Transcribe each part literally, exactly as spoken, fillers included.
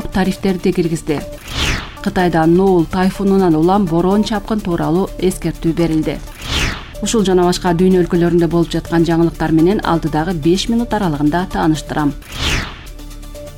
тарифтерди киргизди. Кытайда Ноул тайфунунан улам бороон чапкын тууралуу эскертүү берилди. Ушул жана башка дүйнө өлкөлөрүндө болуп жаткан жаңылыктар менен алдыдагы беш минут аралыгында тааныштырам.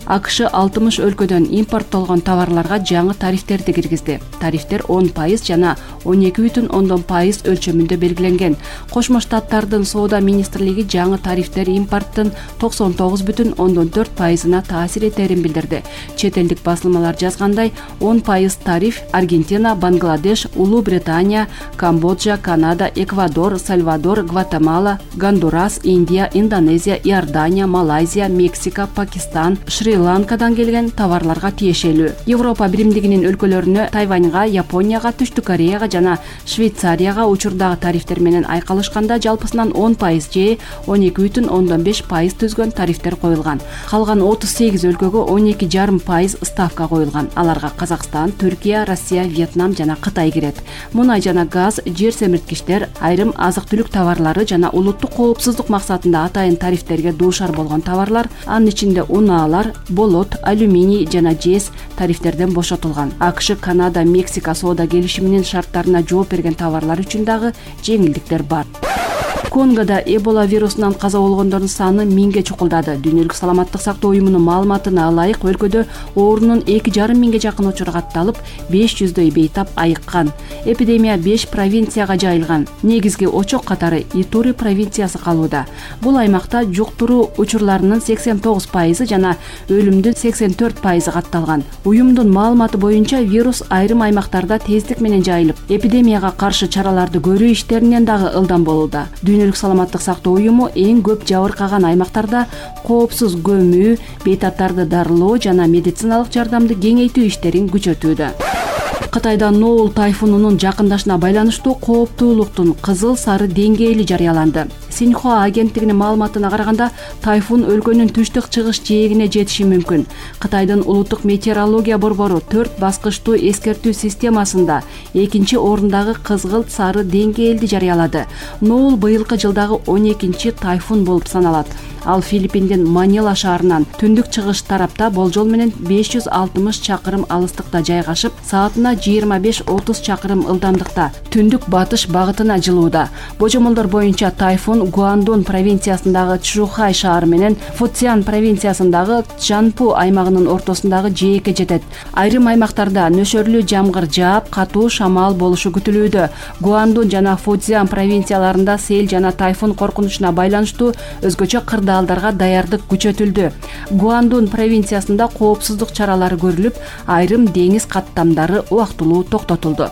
АКШ алтымыш өлкөдөн импорттолгон товарларга жаңы тарифтерди киргизди. Тарифтер он пайыз жана он эки бүтүн ондон пайыз өлчөмүндө белгиленген. Кошмо Штаттардын соода министрлиги жаңы тарифтер импорттун токсон тогуз бүтүн ондон төрт пайызына таасир этерин билдирди. Чет элдик басылмалар жазгандай, он пайыз тариф Аргентина, Бангладеш, Улуу Британия, Камбоджа, Канада, Эквадор, Сальвадор, Гватемала, Гондурас, Индия, Индонезия, Иордания, Малайзия, Мексика, Пакистан, Шри-Ланкадан келген товарларга тиешелүү. Европа биримдигинин өлкөлөрүнө Тайваньга, Японияга, Түштүк Кореяга жана Швейцарияга учурдагы тарифтер менен айкалышканда жалпысынан он пайыз же он эки бүтүн ондон беш пайыз түзгөн тарифтер коюлган. Калган отуз сегиз өлкөгө он эки жарым пайыз ставка коюлган. Аларга Казакстан, Түркия, Россия, Вьетнам жана Кытай кирет. Мунай жана газ, жер семирткичтер, айрым азык-түлүк товарлары жана улуттук коопсуздук максатында атайын тарифтерге дуушар болгон товарлар, анын ичинде унаалар, болот, алюминий жана жез тарифтерден бошотулган. АКШ, Канада, Мексика соода келишиминин шарттарына жооп берген товарлар үчүн дагы жеңилдиктер бар. Конгода Эбола вирусунан каза болгондордун саны миңге чукулдады. Дүйнөлүк саламаттык сактоо уюмунун маалыматына ылайык, өлкөдө оорунун эки жарым миңге жакын учуру катталып, беш жүздөй бейтап айыккан. Эпидемия беш провинцияга жайылган. Негизги очок катары Итури провинциясы калууда. Бул аймакта жуктуруу учурларынын сексен тогуз пайызы жана өлүмдүн сексен төрт пайызы катталган. Уюмдун маалыматы боюнча вирус айрым аймактарда тездик менен жайылып, эпидемияга каршы чараларды көрүү иштеринен дагы ылдам болууда. Дүйнөлүк саламаттык сактоо уюму эң көп жабыркаган аймактарда коопсуз көмүү, бейтаптарды дарылоо жана медициналык жардамды кеңейтүү иштерин күчөтүүдө. Кытайда Ноул тайфунунун жакындашына байланыштуу кооптуулуктун кызыл сары деңгээли жарыяланды. Синьхуа агенттигинин маалыматына караганда, тайфун өлкөнүн түштүк-чыгыш жээгине жетиши мүмкүн. Кытайдын улуттук метеорология борбору төрт баскычтуу эскертүү системасында экинчи орундагы кызгылт сары деңгээлди жарыялады. Ноул быйылкы жылдагы он экинчи тайфун болуп саналат. Ал Филиппиндин Манила шаарынан түндүк-чыгыш тарапта болжол менен беш жүз алтымыш чакырым алыстыкта жайгашып, саатына жыйырма беш отуз чакырым ылдамдыкта түндүк батыш багытына жылууда. Божомолдор боюнча тайфун Гуандун провинциясындагы Чжухай шаары менен Фуцзян провинциясындагы Чжанпу аймагынын ортосундагы жээкке жетет. Айрым аймактарда нөшөрлүү жамгыр жаап, катуу шамал болушу күтүлүүдө. Гуандун жана Фуцзян провинцияларында сел жана тайфун коркунучуна байланыштуу өзгөчө кырдаалдарга даярдык күчөтүлдү. Гуандун провинциясында коопсуздук чаралары көрүлүп, айрым деңиз каттамдары убактылуу токтотулду.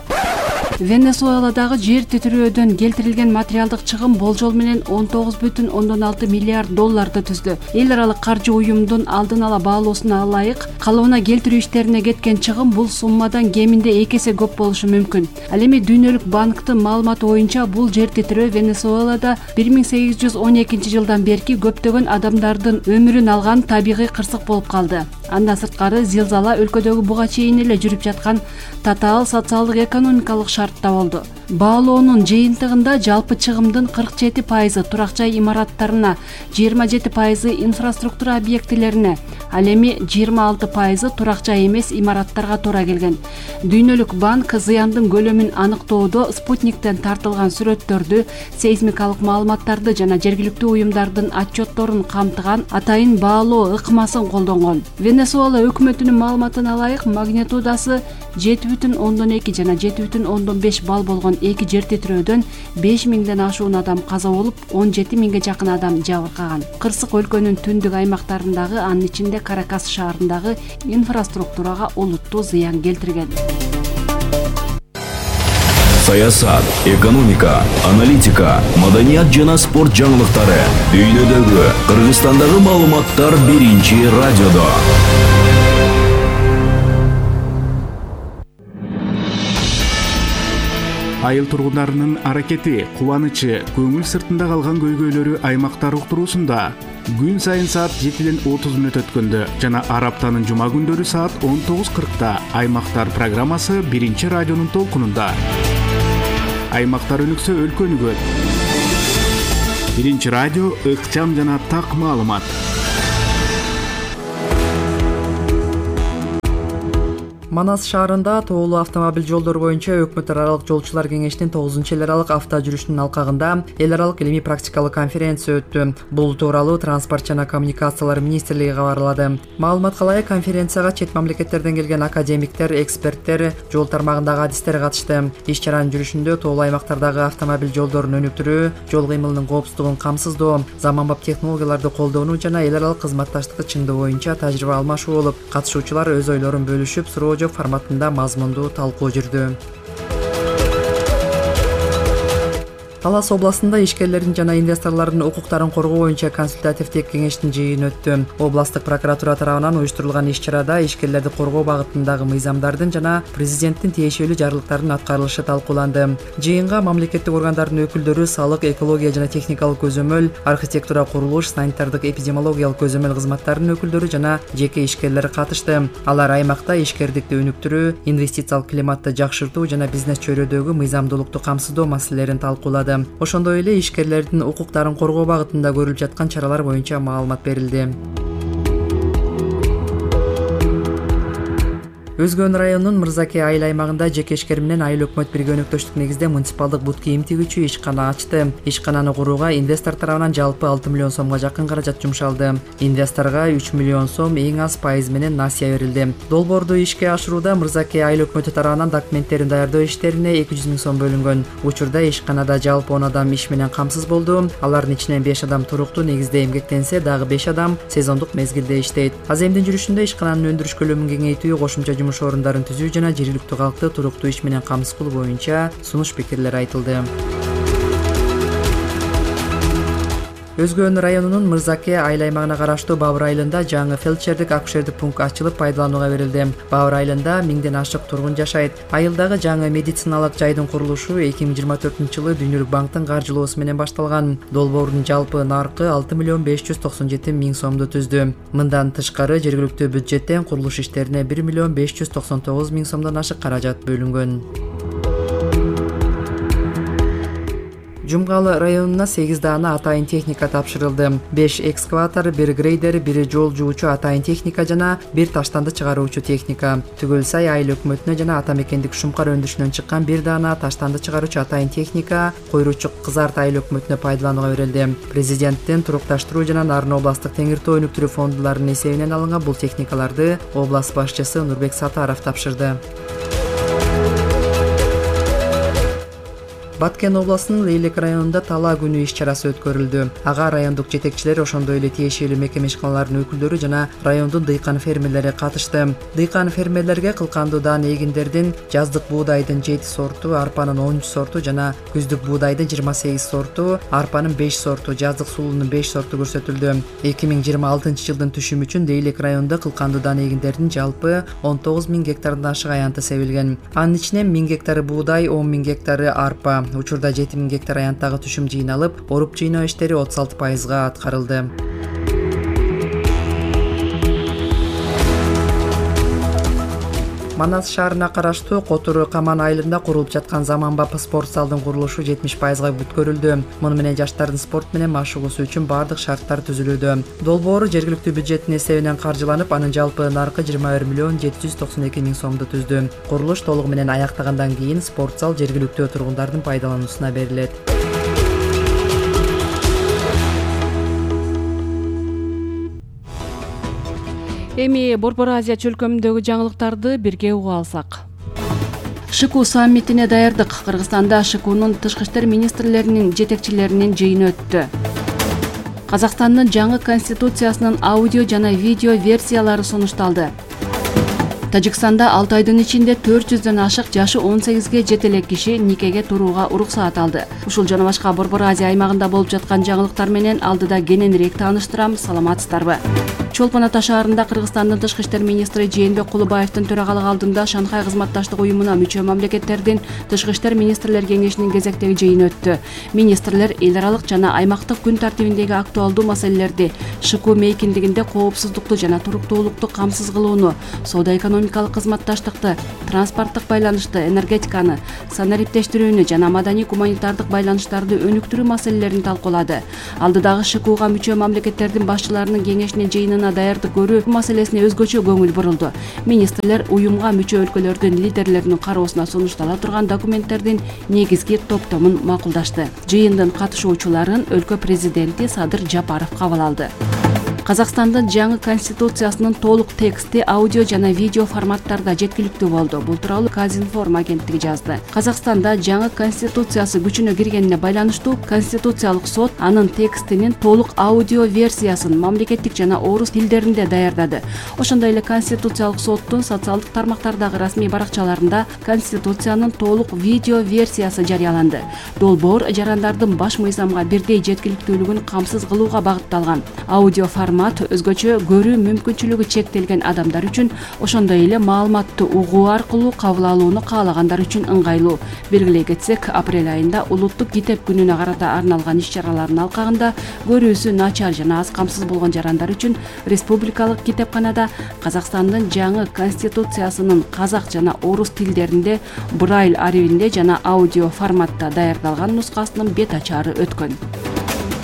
Венесуэладагы жер титирөөдөн келтирилген материалдык чыгым болжол менен он тогуз бүтүн ондон алты миллиард долларды түздү. Эл аралык каржы уюмунун алдын ала баалоосуна ылайык, калыбына келтирүү иштерине кеткен чыгым бул суммадан кеминде эки эсе көп болушу мүмкүн. Ал эми Дүйнөлүк банктын маалыматы боюнча бул жер титирөө Венесуэлада бир миң сегиз жүз он экинчи жылдан берки көптөгөн адамдардын өмүрүн алган табигый кырсык болуп калды. Андан сырткары зилзала өлкөдөгү буга чейин эле жүрүп жаткан татаал социалдык экономикалык шартта болду. Баалоонун жыйынтыгында жалпы чыгымдын кырк жети пайызы турак жай имараттарына, жыйырма жети пайызы инфраструктура объектилерине, ал эми жыйырма алты пайызы турак жай эмес имараттарга туура келген. Дүйнөлүк банк зыяндын көлөмүн аныктоодо спутниктен тартылган сүрөттөрдү, сейсмикалык маалыматтарды жана жергиликтүү уюмдардын отчетторун камтыган атайын баалоо ыкмасын колдонгон. Венесуэла өкмөтүнүн маалыматына ылайык, магнитудасы жети бүтүн ондон эки жана жети бүтүн ондон беш балл болгон эки жер титирөөдөн беш миңден ашуун адам каза болуп, он жети миңге жакын адам жабыркаган. Кырсык өлкөнүн түндүк аймактарындагы, анын ичинде Каракас шаарындагы инфраструктурага олуттуу зыян келтирген. Саясат, экономика, аналитика, маданият жана спорт жаңылыктары. Дүйнөдөгү, Кыргызстандагы маалыматтар биринчи радиодо. Айыл тургундарынын аракети, кубанычы, көңүл сыртында калган көйгөйлөрү аймактар уктуруусунда күн сайын саат жетиден отуз мүнөт өткөндө жана ар аптанын жума күндөрү саат он тогуз кыркта Аймактар программасы биринчи радионун толкунунда. Аймактар өнүксө өлкө өнүгөт. Биринчи радио ыкчам жана так маалымат. Манас шаарында тоолуу автомобиль жолдору боюнча өкмөт аралык жолчулар кеңешинин тогузунчу эл аралык авто жүрүшүнүн алкагында эл аралык илимий практикалык конференция өттү. Бул тууралуу Транспорт жана коммуникациялар министрлиги кабарлады. Маалыматка ылайык конференцияга чет мамлекеттерден келген академиктер, эксперттер, жол тармагындагы адистер катышты. Иш чаранын жүрүшүндө тоолуу аймактардагы автомобиль жолдорун өнүктүрүү, жол кыймылынын коопсуздугун камсыздоо, заманбап технологияларды колдонуу жана эл аралык кызматташтыкты чыңдоо боюнча тажрыйба алмашуу болуп, катышуучулар өз ойлорун бөлүшүп, суроо жооп форматында мазмундуу талкуу жүрдү. Талас областында ишкерлердин жана инвесторлордун укуктарын коргоо боюнча консультативдик кеңештин жыйыны өттү. Областтык прокуратура тарабынан уюштурулган иш-чарада ишкерлерди коргоо багытындагы мыйзамдардын жана президенттин тиешелүү жарлыктарынын аткарылышы талкууланды. Жыйынга мамлекеттик органдардын өкүлдөрү, салык, экология жана техникалык көзөмөл, архитектура, курулуш, санитардык, эпидемиологиялык көзөмөл кызматтарынын өкүлдөрү жана жеке ишкерлер катышты. Алар аймакта ишкердикти өнүктүрүү, инвестициялык климатты жакшыртуу жана бизнес чөйрөдөгү мыйзамдуулукту камсыздоо маселелерин талкуулады. Ошондой эле ишкерлердин укуктарын коргоо багытында көрүлүп жаткан чаралар боюнча маалымат берилди. Өзгөн районунун Мырзаке айыл аймагында жеке ишкер менен айыл өкмөт бирге өнөктөштүк негизде муниципалдык бут кийим тигүүчү ишкана ачты. Ишкананы курууга инвестор тарабынан жалпы алты миллион сомго жакын каражат жумшалды. Инвесторго үч миллион сом эң аз пайыз менен насыя берилди. Долбоорду ишке ашырууда Мырзаке айыл өкмөтү тарабынан документтерин даярдоо иштерине эки жүз миң сом бөлүнгөн. Учурда ишканада жалпы он адам иш менен камсыз болду. Алардын ичинен беш адам туруктуу негизде эмгектенсе, дагы беш адам сезондук мезгилде иштейт. Аземдин жүрүшүндө ишкананын өндүрүш көлөмүн кеңейтүү, кошумча жумуш орундарын түзүү жана жергиликтүү калкты туруктуу иш менен камсыз кылуу боюнча сунуш пикирлер айтылды. Өзгөн районунун Мырзаке айыл аймагына караштуу Бабыр айылында жаңы фельдшердик акушердик пункт ачылып пайдаланууга берилди. Бабыр айылында миңден ашык тургун жашайт. Айылдагы жаңы медициналык жайдын курулушу эки миң жыйырма төртүнчү жылы Дүйнөлүк банктын каржылоосу менен башталган. Долбоордун жалпы наркы алты миллион беш жүз токсон жети миң сомду түздү. Мындан тышкары жергиликтүү бюджеттен курулуш иштерине бир миллион беш жүз токсон тогуз миң сомдон ашык каражат бөлүнгөн. Жумгалы районуна сегиз даана атайын техника тапшырылды. беш экскаватор, бир грейдер, бир жол жуучу атайын техника жана бир таштанды чыгаруучу техника. Түгөл сай айыл өкмөтүнө жана ата мекендик Шумкар өндүрүшүнөн чыккан бир даана таштанды чыгаруучу атайын техника Койручук Кызарт айыл өкмөтүнө пайдаланууга берилди. Президенттин турукташтыруу жана Нарын областтык теңир тоо өнүктүрүү фондуларынын эсебинен алынган бул техникаларды област башчысы Нурбек Сатаров тапшырды. Баткен областынын Лейлек районунда талаа күнү иш-чарасы өткөрүлдү. Ага райондук жетекчилер, ошондой эле тиешелүү мекеме ишканаларынын өкүлдөрү жана райондун дыйкан фермерлери катышты. Дыйкан фермерлерге кылкандуу даан эгиндердин жаздык буудайдын жети сорту, арпанын онунчу сорту жана күздүк буудайдын жыйырма сегиз сорту, арпанын беш сорту, жаздык сулуунун беш сорту көрсөтүлдү. эки миң жыйырма алтынчы жылдын түшүмү үчүн Лейлек районунда кылкандуу даан эгиндердин жалпы он тогуз миң гектардан ашык аянты себилген. Анын ичинен миң гектары буудай, он миң гектары арпа. Учурда жети миң гектар аянттагы түшүм жыйналып, оруп жыйноо иштери отуз алты пайызга аткарылды. Манас шаарына караштуу Котору Каман айылында курулуп жаткан заманбап спорт залдын курулушу жетимиш пайызга бүткөрүлдү. Муну менен жаштардын спорт менен машыгуусу үчүн бардык шарттар түзүлүүдө. Долбоору жергиликтүү бюджеттин эсебинен каржыланып, анын жалпы наркы жыйырма бир миллион жети жүз токсон эки миң сомду түздү. Курулуш толугу менен аяктагандан кийин спорт зал жергиликтүү тургундардын пайдалануусуна берилет. Эми Борбор Азия чөлкөмүндөгү жаңылыктарды бирге угуп алсак. ШКУ саммитине даярдык. Кыргызстанда ШКУнун тышкы иштер министрлеринин жетекчилеринин жыйыны өттү. Казакстандын жаңы конституциясынын аудио жана видео версиялары сунушталды. Тажикстанда алты айдын ичинде төрт жүздөн ашык жашы он сегизге жете элек киши никеге турууга уруксаат алды. Ушул жана башка Борбор Азия аймагында болуп жаткан жаңылыктар менен алдыда кененирээк тааныштырам. Саламатсыздарбы? Чолпон Ата шаарында Кыргызстандын тышкы иштер министри Жээнбек Кулубаевдин төрагалык алдында Шанхай кызматташтык уюмуна мүчө мамлекеттердин тышкы иштер министрлер кеңешинин кезектеги жыйыны өттү. Министрлер эл аралык жана аймактык күн тартибиндеги актуалдуу маселелерди, ШКУ мейкиндигинде коопсуздукту жана туруктуулукту камсыз кылууну, соода экономика экономикалык кызматташтыкты, транспорттук байланышты, энергетиканы, санариптештирүүнү жана маданий гуманитардык байланыштарды өнүктүрүү маселелерин талкуулады. Алдыдагы ШКУга мүчө мамлекеттердин башчыларынын кеңешинин жыйынына даярдык көрүү маселесине өзгөчө көңүл бурулду. Министрлер уюмга мүчө өлкөлөрдүн лидерлеринин кароосуна сунуштала турган документтердин негизги топтомун макулдашты. Жыйындын катышуучуларын өлкө президенти Садыр Жапаров кабыл алды. Казакстандын жаңы конституциясынын толук тексти аудио жана видео форматтарда жеткиликтүү болду. Бул тууралуу Казинформ агенттиги жазды. Казакстанда жаңы конституциясы күчүнө киргенине байланыштуу Конституциялык сот анын текстинин толук аудио версиясын мамлекеттик жана орус тилдеринде даярдады. Ошондой эле Конституциялык соттун социалдык тармактардагы расмий баракчаларында Конституциянын толук видео версиясы жарыяланды. Долбоор жарандардын баш мыйзамга бирдей жеткиликтүүлүгүн камсыз кылууга багытталган. Аудио формат өзгөчө көрүү мүмкүнчүлүгү чектелген адамдар үчүн, ошондой эле маалыматты угуу аркылуу кабыл алууну каалагандар үчүн ыңгайлуу. Белгилей кетсек, апрель айында улуттук китеп күнүнө карата арналган иш-чаралардын алкагында көрүүсү начар жана аз камсыз болгон жарандар үчүн республикалык китепканада Казакстандын жаңы конституциясынын казак жана орус тилдеринде, брайль арибинде жана аудио форматта даярдалган нускасынын бет ачары өткөн.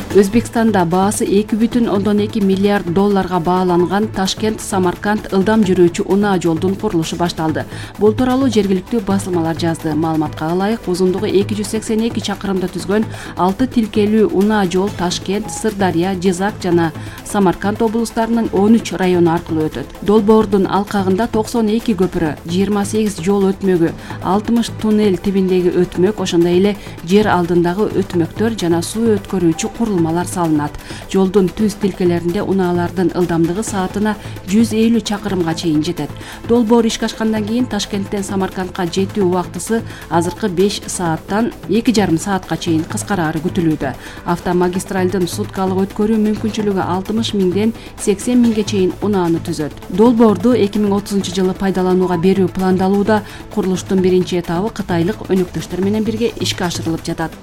Өзбекстанда баасы эки бүтүн ондон эки миллиард долларга бааланган Ташкент-Самарканд ылдам жүрүүчү унаа жолдун курулушу башталды. Бул тууралуу жергиликтүү басылмалар жазды. Маалыматка ылайык, узундугу эки жүз сексен эки чакырымды түзгөн алты тилкелүү унаа жол Ташкент, Сырдария, Жизак жана Самарканд облустарынын он үч району аркылуу өтөт. Долбоордун алкагында токсон эки көпүрө, жыйырма сегиз жол өтмөгү, алтымыш туннель тибиндеги өтмөк, ошондой эле жер алдындагы өтмөктөр жана суу өткөрүүчү курулмалар салынат. Жолдун түз тилкелеринде унаалардын ылдамдыгы саатына жүз элүү чакырымга чейин жетет. Долбоор ишке ашкандан кийин Ташкенттен Самаркандка жетүү убактысы азыркы беш сааттан эки жарым саатка чейин кыскарары күтүлүүдө. Автомагистралдын суткалык өткөрүү мүмкүнчүлүгү алтымыш миңден сексен миңге чейин унааны түзөт. Долбоорду эки миң отузунчу жылы пайдаланууга берүү пландалууда. Курулуштун биринчи этабы кытайлык өнөктөштөр менен бирге ишке ашырылып жатат.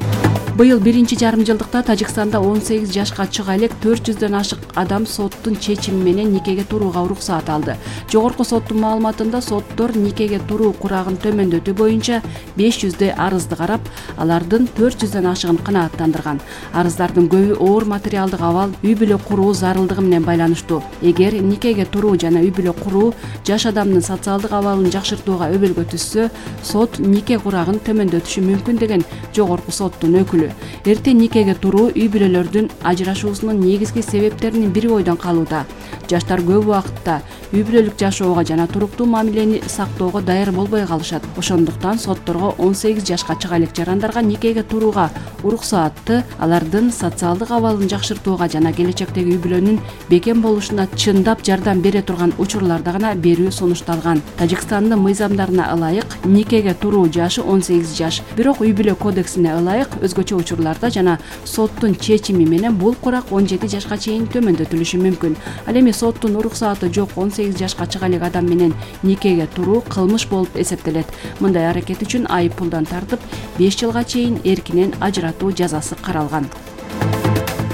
Быйыл биринчи жарым жылдыкта Тажикстанда он сегиз жашка чыга элек төрт жүздөн ашык адам соттун чечими менен никеге турууга уруксаат алды. Жогорку соттун маалыматында соттор никеге туруу курагын төмөндөтүү боюнча беш жүздөй арызды карап, алардын төрт жүздөн ашыгын канааттандырган. Арыздардын көбү оор материалдык абал, үй бүлө куруу зарылдыгы менен байланыштуу. Эгер никеге туруу жана үй бүлө куруу жаш адамдын социалдык абалын жакшыртууга өбөлгө түшсө, сот нике курагын төмөндөтүшү мүмкүн деген жогорку соттун өкүлү. Эрте никеге туруу үй бүлөлөрдүн ажырашуусунун негизги себептеринин бири бойдон калууда. Жаштар көп убакытта үй бүлөлүк жашоого жана туруктуу мамилени сактоого даяр болбой калышат. Ошондуктан сотторго он сегиз жашка чыга элек жарандарга никеге турууга уруксаатты алардын социалдык абалын жакшыртууга жана келечектеги үй бүлөнүн бекем болушуна чындап жардам бере турган учурларда гана берүү сунушталган. Тажикстандын мыйзамдарына ылайык никеге туруу жашы он сегиз жаш. Бирок үй бүлө кодексине ылайык өзгөчө учурларда жана соттун чечими менен бул курак он жети жашка чейин төмөндөтүлүшү мүмкүн. Ал эми соттун уруксааты жок он сегиз жашка чыга элек адам менен никеге туруу кылмыш болуп эсептелет. Мындай аракет үчүн айып пулдан тартып беш жылга чейин эркинен ажыратуу жазасы каралган.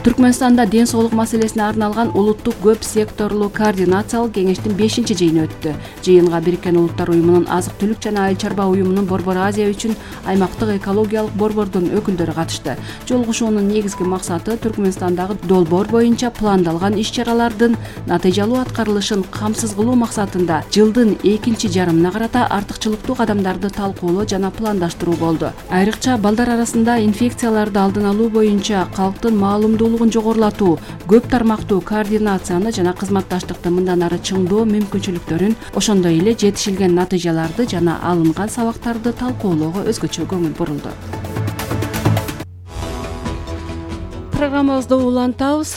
Түркмөнстанда ден соолук маселесине арналган улуттук көп секторлуу координациялык кеңештин бешинчи жыйыны өттү. Жыйынга Бириккен Улуттар уюмунун азык-түлүк жана айыл чарба уюмунун Борбор Азия үчүн аймактык экологиялык борбордун өкүлдөрү катышты. Жолугушуунун негизги максаты Түркмөнстандагы долбоор боюнча пландалган иш-чаралардын натыйжалуу аткарылышын камсыз кылуу максатында жылдын экинчи жарымына карата артыкчылыктуу кадамдарды талкуулоо жана пландаштыруу болду. Айрыкча балдар арасында инфекцияларды алдын алуу боюнча калктын маалымдуулугун жогорулатуу, көп тармактуу координацияны жана кызматташтыкты мындан ары чыңдоо мүмкүнчүлүктөрүн, ошондой эле жетишилген натыйжаларды жана алынган сабактарды талкуулоого өзгөчө көңүл бурулду. Программабызды улантабыз.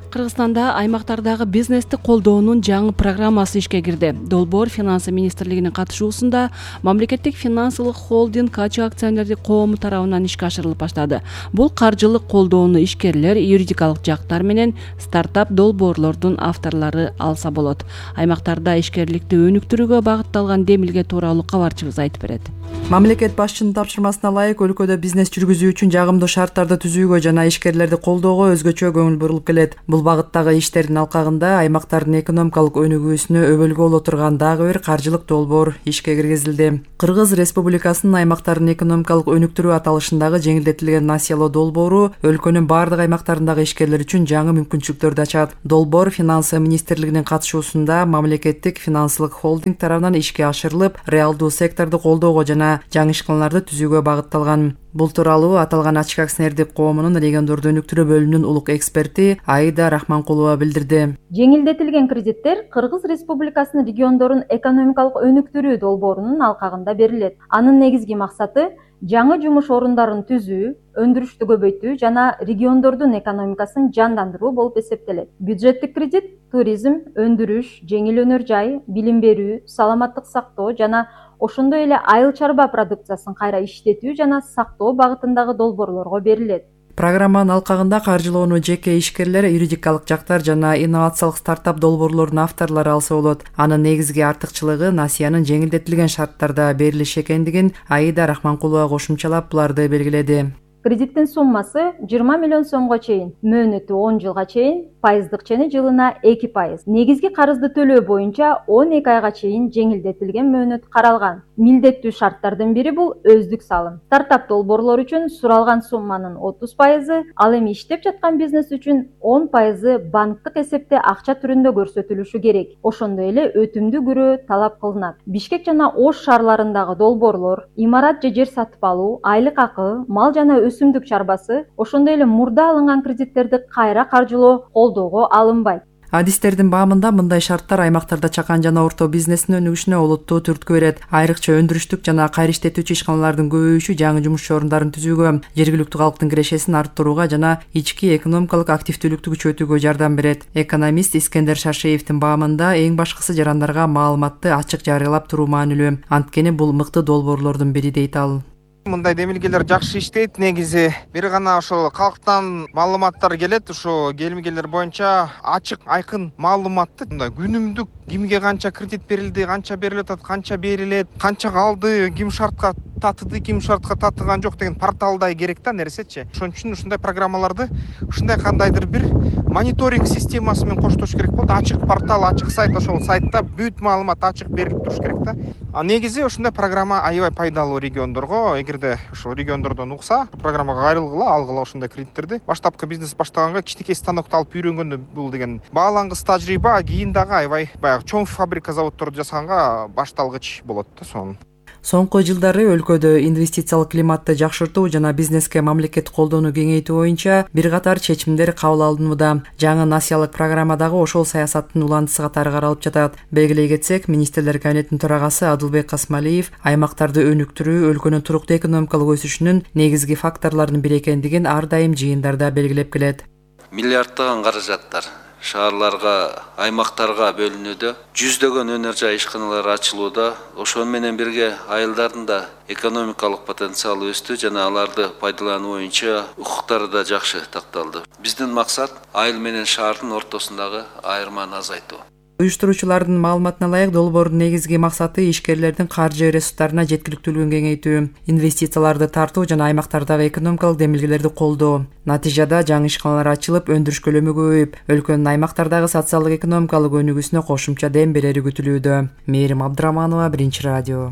Кыргызстанда аймактардагы бизнести колдоонун жаңы программасы ишке кирди. Долбоор Финансы министрлигинин катышуусунда мамлекеттик финансылык холдинг Качы акционердик коому тарабынан ишке ашырылып баштады. Бул каржылык колдоону ишкерлер, юридикалык жактар менен стартап долбоорлордун авторлору алса болот. Аймактарда ишкерликти өнүктүрүүгө багытталган демилге тууралуу кабарчыбыз айтып берет. Мамлекет башчынын тапшырмасына ылайык өлкөдө бизнес жүргүзүү үчүн жагымдуу шарттарды түзүүгө жана ишкерлерди колдоого өзгөчө көңүл бурулуп келет. Бул багыттагы иштердин алкагында аймактардын экономикалык өнүгүүсүнө өбөлгө боло турган дагы бир каржылык долбоор ишке киргизилди. Кыргыз Республикасынын аймактардын экономикалык өнүктүрүү аталышындагы жеңилдетилген насыялоо долбоору өлкөнүн бардык аймактарындагы ишкерлер үчүн жаңы мүмкүнчүлүктөрдү ачат. Долбоор Финансы министрлигинин катышуусунда мамлекеттик финансылык холдинг тарабынан ишке ашырылып, реалдуу секторду колдоого жана жаңы ишканаларды түзүүгө багытталган. Бул тууралуу аталган ачык акционердик коомунун региондорду өнүктүрүү бөлүмүнүн улук эксперти Аида Рахманкулова билдирди. Жеңилдетилген кредиттер Кыргыз Республикасынын региондорун экономикалык өнүктүрүү долбоорунун алкагында берилет. Анын негизги максаты жаңы жумуш орундарын түзүү, өндүрүштү көбөйтүү жана региондордун экономикасын жандандыруу болуп эсептелет. Бюджеттик кредит туризм, өндүрүш, жеңил өнөр жай, билим берүү, саламаттык сактоо жана ошондой эле айыл чарба продукциясын кайра иштетүү жана сактоо багытындагы долбоорлорго берилет. Программанын алкагында каржылоону жеке ишкерлер, юридикалык жактар жана инновациялык стартап долбоорлордун авторлору алса болот. Анын негизги артыкчылыгы насыянын жеңилдетилген шарттарда берилиш экендигин Аида Рахманкулова кошумчалап буларды белгиледи. Кредиттин суммасы жыйырма миллион сомго чейин, мөөнөтү он жылга чейин, пайыздык чени жылына эки пайыз. Негизги карызды төлөө боюнча он эки айга чейин жеңилдетилген мөөнөт каралган. Милдеттүү шарттардын бири бул өздүк салым. Стартап долбоорлор үчүн суралган сумманын отуз пайызы, ал эми иштеп жаткан бизнес үчүн он пайызы банктык эсепте акча түрүндө көрсөтүлүшү керек. Ошондой эле өтүмдүү күрөө талап кылынат. Бишкек жана Ош шаарларындагы долбоорлор, имарат же жер сатып алуу, айлык акы, мал жана өсүмдүк чарбасы, ошондой эле мурда алынган кредиттерди кайра каржылоо колдоого алынбайт. Адистердин баамында мындай шарттар аймактарда чакан жана орто бизнестин өнүгүшүнө олуттуу түрткү берет. Айрыкча өндүрүштүк жана кайра иштетүүчү ишканалардын көбөйүшү жаңы жумуш орундарын түзүүгө, жергиликтүү калктын кирешесин арттырууга жана ички экономикалык активдүүлүктү күчөтүүгө жардам берет. Экономист Искендер Шашеевдин баамында эң башкысы жарандарга маалыматты ачык жарыялап туруу маанилүү. Анткени бул мыкты долбоорлордун бири дейт ал. Мындай демилгелер жакшы иштейт. Негизи бир гана ошол калктан маалыматтар келет. Ошо келмегелер боюнча ачык, айкын маалыматты мындай күнүмдүк кимге канча кредит берилди, канча берилет, канча берилет, канча калды, ким шартка татыды, ким шартка татыган жок деген порталдай керек да нерсечи. Ошон үчүн ушундай программаларды ушундай кандайдыр бир мониторинг системасы менен коштош керек болот. Ачык портал, ачык сайт, ошол сайтта бүт маалымат ачык берилип туруш керек да. А негизи ушундай программа аябай пайдалуу региондорго. Эгерде ошол региондордон укса, программага кайрылгыла, алгыла ушундай кредиттерди. Баштапкы бизнес баштаганга кичинекей станокто алып үйрөнгөндө бул деген баалангыс тажрыйба, кийин дагы аябай баягы чоң фабрика заводдорду жасаганга башталгыч болот да сонун. Соңку жылдары өлкөдө инвестициялык климатты жакшыртуу жана бизнеске мамлекеттик колдоону кеңейтүү боюнча бир катар чечимдер кабыл алынууда. Жаңы насыялык программадагы ошол саясаттын уландысы катары каралып жатат. Белгилей кетсек, министрлер кабинетинин төрагасы Адылбек Касмалиев аймактарды өнүктүрүү өлкөнүн туруктуу экономикалык өсүшүнүн негизги факторлорунун бири экендигин ар дайым жыйындарда белгилеп келет. Миллиарддаган каражаттар шаарларга, аймактарга бөлүнүүдө, жүздөгөн өнөр жай ишканалар ачылууда. Ошону менен бирге айылдардын да экономикалык потенциалы өстү жана аларды пайдалануу боюнча укуктары да жакшы такталды. Биздин максат айыл менен шаардын ортосундагы айырманы азайтуу. Уюштуруучулардын маалыматына ылайык долбоордун негизги максаты ишкерлердин каржы ресурстарына жеткиликтүүлүгүн кеңейтүү, инвестицияларды тартуу жана аймактардагы экономикалык демилгелерди колдоо. Натыйжада жаңы ишканалар ачылып, өндүрүш көлөмү көбөйүп, өлкөнүн аймактардагы социалдык экономикалык өнүгүүсүнө кошумча дем берери күтүлүүдө. Мээрим Абдыраманова, Биринчи радио.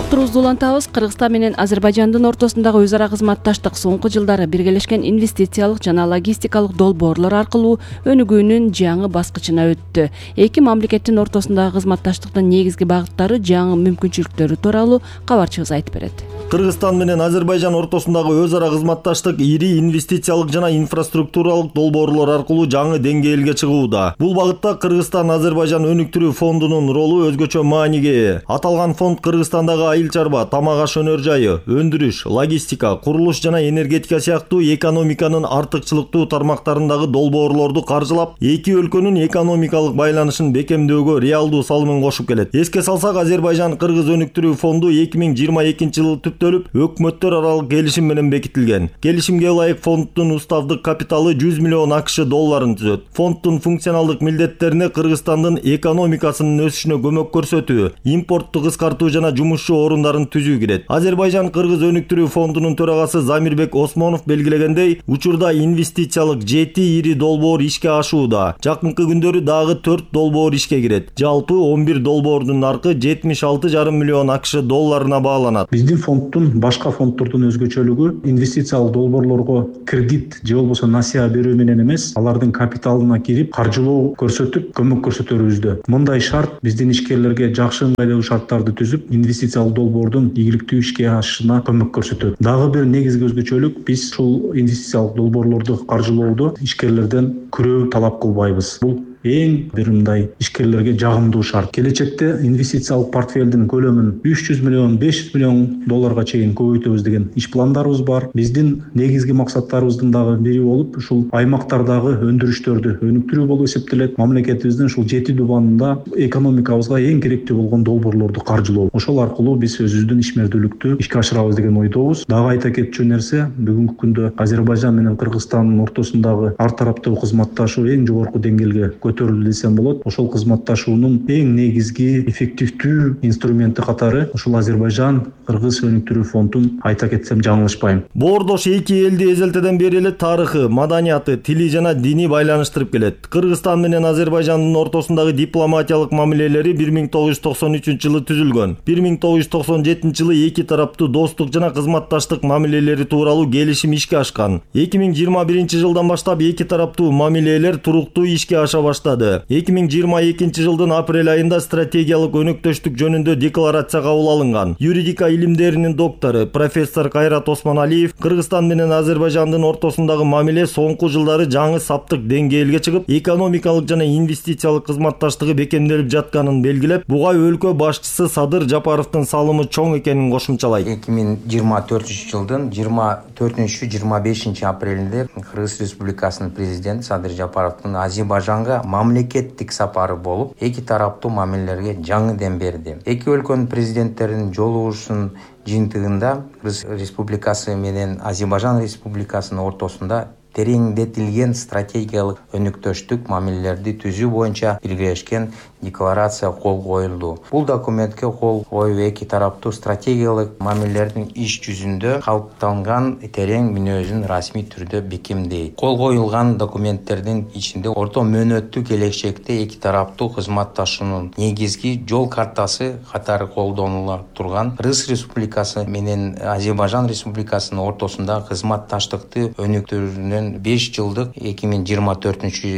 Уктурубузду улантабыз. Кыргызстан менен Азербайжандын ортосундагы өз ара кызматташтык соңку жылдары биргелешкен инвестициялык жана логистикалык долбоорлор аркылуу өнүгүүнүн жаңы баскычына өттү. Эки мамлекеттин ортосундагы кызматташтыктын негизги багыттары, жаңы мүмкүнчүлүктөрү тууралуу кабарчыбыз айтып берет. Кыргызстан менен Азербайжан ортосундагы өз ара кызматташтык ири инвестициялык жана инфраструктуралык долбоорлор аркылуу жаңы деңгээлге чыгууда. Бул багытта Кыргызстан Азербайжан өнүктүрүү фондунун ролу өзгөчө мааниге ээ. Аталган фонд Кыргызстандагы айыл чарба, тамак аш өнөр жайы, өндүрүш, логистика, курулуш жана энергетика сыяктуу экономиканын артыкчылыктуу тармактарындагы долбоорлорду каржылап, эки өлкөнүн экономикалык байланышын бекемдөөгө реалдуу салымын кошуп келет. Эске салсак, Азербайжан Кыргыз өнүктүрүү фонду эки миң жыйырма экинчи жылы түп бүттөлүп, өкмөттөр аралык келишим менен бекитилген. Келишимге ылайык фонддун уставдык капиталы жүз миллион акш долларын түзөт. Фонддун функционалдык милдеттерине Кыргызстандын экономикасынын өсүшүнө көмөк көрсөтүү, импортту кыскартуу жана жумушчу орундарын түзүү кирет. Азербайжан-Кыргыз өнүктүрүү фондунун төрагасы Замирбек Осмонов белгилегендей, учурда инвестициялык жети ири долбоор ишке ашууда. Жакынкы күндөрү дагы төрт долбоор ишке кирет. Жалпы он бир долбоордун наркы жетимиш алты жарым миллион акш долларына бааланат. Биздин фонддун башка фонддордун өзгөчөлүгү инвестициялык долбоорлорго кредит же болбосо насыя берүү менен эмес, алардын капиталына кирип, каржылоо көрсөтүп, көмөк көрсөтөрүбүздө. Мындай шарт биздин ишкерлерге жакшы ыңгайлуу шарттарды түзүп, инвестициялык долбоордун ийгиликтүү ишке ашышына көмөк көрсөтөт. Дагы бир негизги өзгөчөлүк, биз ушул инвестициялык долбоорлорду каржылоодо ишкерлерден күрөө талап кылбайбыз. Бул эң бир мындай ишкерлерге жагымдуу шарт. Келечекте инвестициялык портфелдин көлөмүн үч жүз миллион, беш жүз миллион долларга чейин көбөйтөбүз деген иш пландарыбыз бар. Биздин негизги максаттарыбыздын дагы бири болуп, ушул аймактардагы өндүрүштөрдү өнүктүрүү болуп эсептелет. Мамлекетибиздин ушул жети дубанында экономикабызга эң керектүү болгон долбоорлорду каржылоо. Ошол аркылуу биз өзүбүздүн ишмердүүлүктү ишке ашырабыз деген ойдобуз. Дагы айта кетчү нерсе, бүгүнкү күндө Азербайжан менен Кыргызстандын ортосундагы ар тараптуу кызматташуу эң жогорку деңгээлге көтөрүлдү десем болот. Ошол кызматташуунун эң негизги эффективдүү инструменти катары ушул Азербайжан-Кыргыз өнүктүрүү фондун айта кетсем жаңылышпайм. Боордош эки элди эзелтеден бери эле тарыхы, маданияты, тили жана дини байланыштырып келет. Кыргызстан менен Азербайжандын ортосундагы дипломатиялык мамилелери бир миң тогуз жүз токсон үчүнчү жылы түзүлгөн. бир миң тогуз жүз токсон жетинчи жылы эки тараптуу достук жана кызматташтык мамилелери тууралуу келишим ишке ашкан. эки миң жыйырма биринчи жылдан баштап эки тараптуу мамилелер туруктуу ишке аша баштады. эки миң жыйырма экинчи жылдын апрель айында стратегиялык өнөктөштүк жөнүндө декларация кабыл алынган. Юридика илимдеринин доктору профессор Кайрат Осмоналиев Кыргызстан менен Азербайжандын ортосундагы мамиле соңку жылдары жаңы саптык деңгээлге чыгып, экономикалык жана инвестициялык кызматташтыгы бекемделип жатканын белгилеп, буга өлкө башчысы Садыр Жапаровдун салымы чоң экенин кошумчалайт. эки миң жыйырма төртүнчү жылдын жыйырма төртүнчү жыйырма бешинчи апрелинде Кыргыз Республикасынын президенти Садыр Жапаровдун Азербайжанга мамлекеттик сапары болуп, эки тараптуу мамилелерге жаңы дем берди. Эки өлкөнүн президенттеринин жолугушуунун жыйынтыгында Кыргыз Республикасы менен Азербайжан Республикасынын ортосунда тереңдетилген стратегиялык өнүктөштүк мамилелерди түзүү боюнча биргелешкен декларация кол коюлду. Бул документке кол коюу эки тараптуу стратегиялык мамилелердин иш жүзүндө калыптанган терең мүнөзүн расмий түрдө бекемдейт. Кол коюлган документтердин ичинде орто мөөнөттүү келечекте эки тараптуу кызматташуунун негизги жол картасы катары колдонула турган Кыргыз Республикасы менен Азербайжан Республикасынын ортосунда кызматташтыкты өнүктүрүүнүн беш жылдык эки миң жыйырма төртүнчү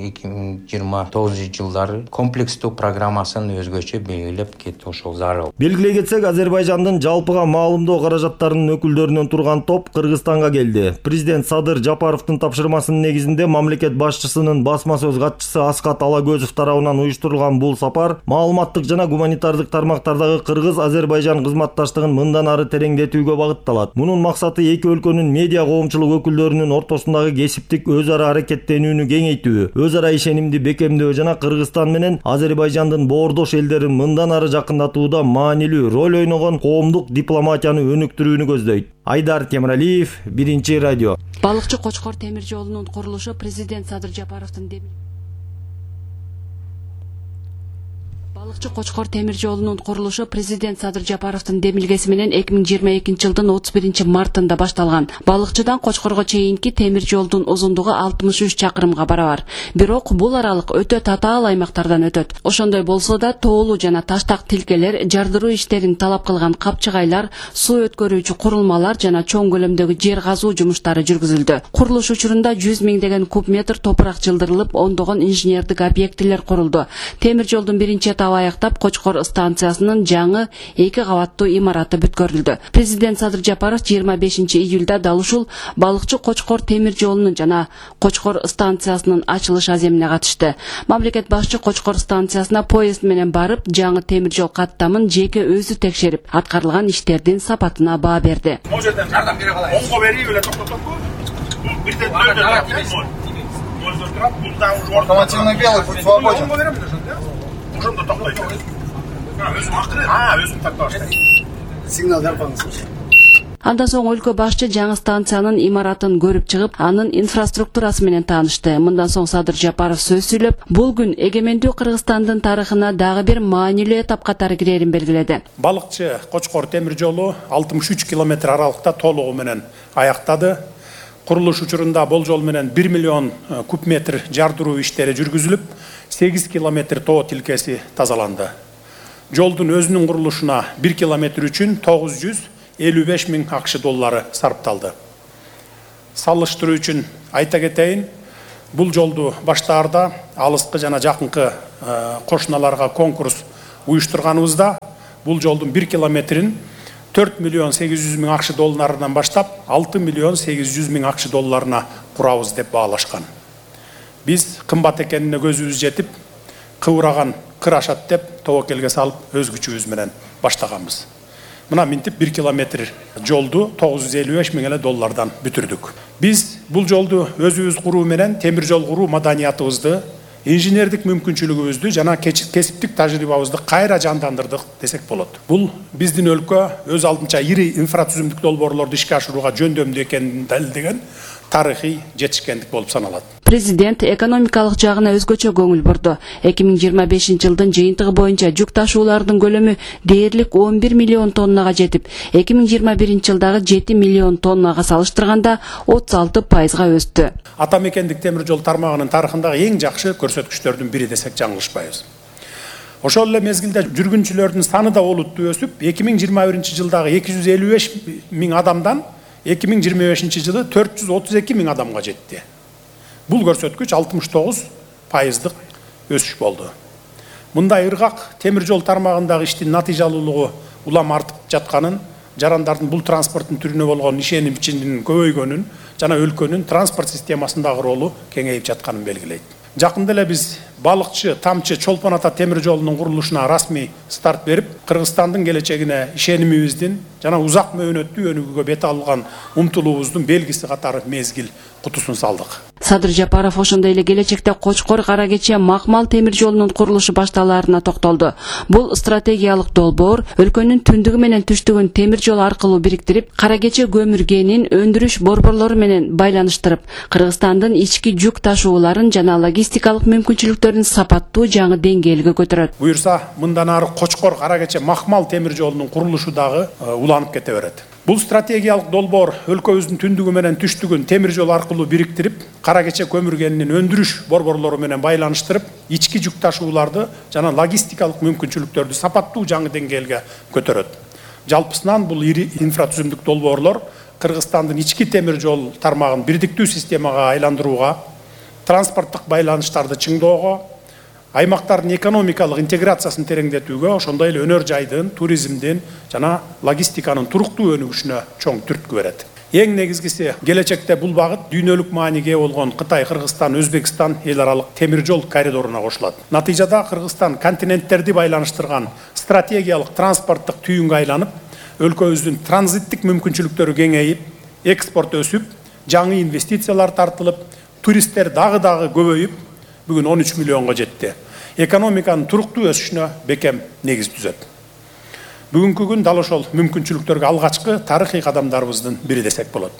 эки миң жыйырма тогузунчу жылдары комплекстүү программасын өзгөчө белгилеп кетти ошол зарыл. Белгилей кетсек, Азербайжандын жалпыга маалымдоо каражаттарынын өкүлдөрүнөн турган топ Кыргызстанга келди. Президент Садыр Жапаровдун тапшырмасынын негизинде мамлекет башчысынын басма сөз катчысы Аскат Алагөзов тарабынан уюштурулган бул сапар маалыматтык жана гуманитардык тармактардагы Кыргыз-Азербайжан кызматташтыгын мындан ары тереңдетүүгө багытталат. Мунун максаты эки өлкөнүн медиа коомчулук өкүлдөрүнүн ортосунда кесиптик өз ара аракеттенүүнү кеңейтүү, өз ара ишенимди бекемдөө жана Кыргызстан менен Азербайжандын боордош элдерин мындан ары жакындатууда маанилүү роль ойногон коомдук дипломатияны өнүктүрүүнү көздөйт. Айдар Темиралиев, Биринчи радио. Балыкчы Кочкор темир жолунун курулушу президент Садыр Жапаровдун Балыкчы Кочкор темир жолунун курулушу президент Садыр Жапаровдун демилгеси менен эки миң жыйырма экинчи жылдын отуз биринчи мартында башталган. Балыкчыдан Кочкорго чейинки темир жолдун узундугу алтымыш үч чакырымга барабар. Бирок бул аралык өтө татаал аймактардан өтөт. Ошондой болсо да тоолуу жана таштак тилкелер, жардыруу иштерин талап кылган капчыгайлар, суу өткөрүүчү курулмалар жана чоң көлөмдөгү жер казуу жумуштары жүргүзүлдү. Курулуш учурунда жүз миңдеген куб метр топурак жылдырылып, ондогон инженердик объектилер курулду. Темир жолдун биринчи этабы аяктап Кочкор станциясынын жаңы эки кабаттуу имараты бүткөрүлдү. Президент Садыр Жапаров жыйырма бешинчи июлда дал ушул Балыкчы Кочкор темир жолунун жана Кочкор станциясынын ачылыш аземине катышты. Мамлекет башчы Кочкор станциясына поезд менен барып, жаңы темир жол каттамын жеке өзү текшерип, аткарылган иштердин сапатына баа берди. Могу жерден жардам бере калайын. Оңго берип эле токтотобу? Бирден дөйдө турат. Дөйдө турат. Мында уже автомативный белый путь свободен. Оңго берем дешет, да? Ошондо токтойт. Өзүм акыры, а, өзүм тактап баштайм. Сигнал берип коюңуз. Андан соң өлкө башчы жаңы станциянын имаратын көрүп чыгып, анын инфраструктурасы менен таанышты. Мындан соң Садыр Жапаров сөз сүйлөп, бул күн эгемендүү Кыргызстандын тарыхына дагы бир маанилүү этап катары кирерин белгиледи. Балыкчы Кочкор темир жолу алтымыш үч километр аралыкта толугу менен аяктады. Курулуш учурунда болжол менен бир миллион куб метр жардыруу иштери жүргүзүлүп, сегиз километр тоо тилкеси тазаланды. Жолдун өзүнүн курулушуна бир километр үчүн тогуз жүз элүү беш миң акш доллары сарпталды. Салыштыруу үчүн айта кетейин, бул жолду баштаарда алыскы жана жакынкы кошуналарга конкурс уюштурганыбызда бул жолдун бир километрин төрт миллион сегиз жүз миң акш долларынан баштап алты миллион сегиз жүз миң акш долларына курабыз деп баалашкан. Биз кымбат экенине көзүбүз жетип, кыбыраган кыр ашат деп тобокелге салып өз күчүбүз менен баштаганбыз. Мына минтип бир километр жолду тогуз жүз элүү беш миң эле доллардан бүтүрдүк. Биз бул жолду өзүбүз куруу менен темир жол куруу маданиятыбызды, инженердик мүмкүнчүлүгүбүздү жана кесиптик тажрыйбабызды кайра жандандырдык десек болот. Бул биздин өлкө өз алдынча ири инфратүзүмдүк долбоорлорду ишке ашырууга жөндөмдүү экенин далилдеген тарыхый жетишкендик болуп саналат. Президент экономикалык жагына өзгөчө көңүл бурду. эки миң жыйырма бешинчи жылдын жыйынтыгы боюнча жүк ташуулардын көлөмү дээрлик он бир миллион тоннага жетип, эки миң жыйырма биринчи жылдагы жети миллион тоннага салыштырганда отуз алты пайызга өстү. Ата мекендик темир жол тармагынын тарыхындагы эң жакшы көрсөткүчтөрдүн бири десек жаңылышпайбыз. Ошол эле мезгилде жүргүнчүлөрдүн саны да олуттуу өсүп, эки миң жыйырма биринчи жылдагы эки жүз элүү беш миң адамдан эки миң жыйырма бешинчи жылы төрт жүз отуз эки миң адамга жетти. Бул көрсөткүч алтымыш тогуз пайыздык өсүш болду. Мындай ыргак темир жол тармагындагы иштин натыйжалуулугу улам артып жатканын, жарандардын бул транспорттун түрүнө болгон ишенимчилигинин көбөйгөнүн жана өлкөнүн транспорт системасындагы ролу кеңейип жатканын белгилейт. Жакында эле биз Балыкчы Тамчы Чолпон ата темир жолунун курулушуна расмий старт берип, Кыргызстандын келечегине ишенимибиздин жана узак мөөнөттүү өнүгүүгө бет алган умтулуубуздун белгиси катары мезгил кутусун салдык. Садыр Жапаров ошондой эле келечекте Кочкор Каракече Макмал темир жолунун курулушу башталаарына токтолду. Бул стратегиялык долбоор өлкөнүн түндүгү менен түштүгүн темир жол аркылуу бириктирип, Каракече көмүргенин өндүрүш борборлору менен байланыштырып, Кыргызстандын ички жүк ташууларын жана логистикалык мүмкүнчүлүктөрүн сапаттуу жаңы деңгээлге көтөрөт. Буюрса, мындан ары Кочкор Каракече Макмал темир жолунун курулушу дагы уланып кете берет. Бул стратегиялык долбоор өлкөбүздүн түндүгү менен түштүгүн темир жол аркылуу бириктирип, Каракече көмүргенинин өндүрүш борборлору менен байланыштырып, ички жүк ташууларды жана логистикалык мүмкүнчүлүктөрдү сапаттуу жаңы деңгээлге көтөрөт. Жалпысынан бул ири инфратүзүмдүк долбоорлор Кыргызстандын ички темир жол тармагын бирдиктүү системага айландырууга, транспорттук байланыштарды чыңдоого, аймактардын экономикалык интеграциясын тереңдетүүгө, ошондой эле өнөр жайдын, туризмдин жана логистиканын туруктуу өнүгүшүнө чоң түрткү берет. Эң негизгиси, келечекте бул багыт дүйнөлүк мааниге ээ болгон Кытай, Кыргызстан, Өзбекстан эл аралык темир жол коридоруна кошулат. Натыйжада Кыргызстан континенттерди байланыштырган стратегиялык транспорттук түйүнгө айланып, өлкөбүздүн транзиттик мүмкүнчүлүктөрү кеңейип, экспорт өсүп, жаңы инвестициялар тартылып, туристтер дагы-дагы көбөйүп, бүгүн он үч миллионго жетти. Экономиканын туруктуу өсүшүнө бекем негиз түзөт. Бүгүнкү күн дал ошол мүмкүнчүлүктөргө алгачкы тарыхый кадамдарыбыздын бири десек болот.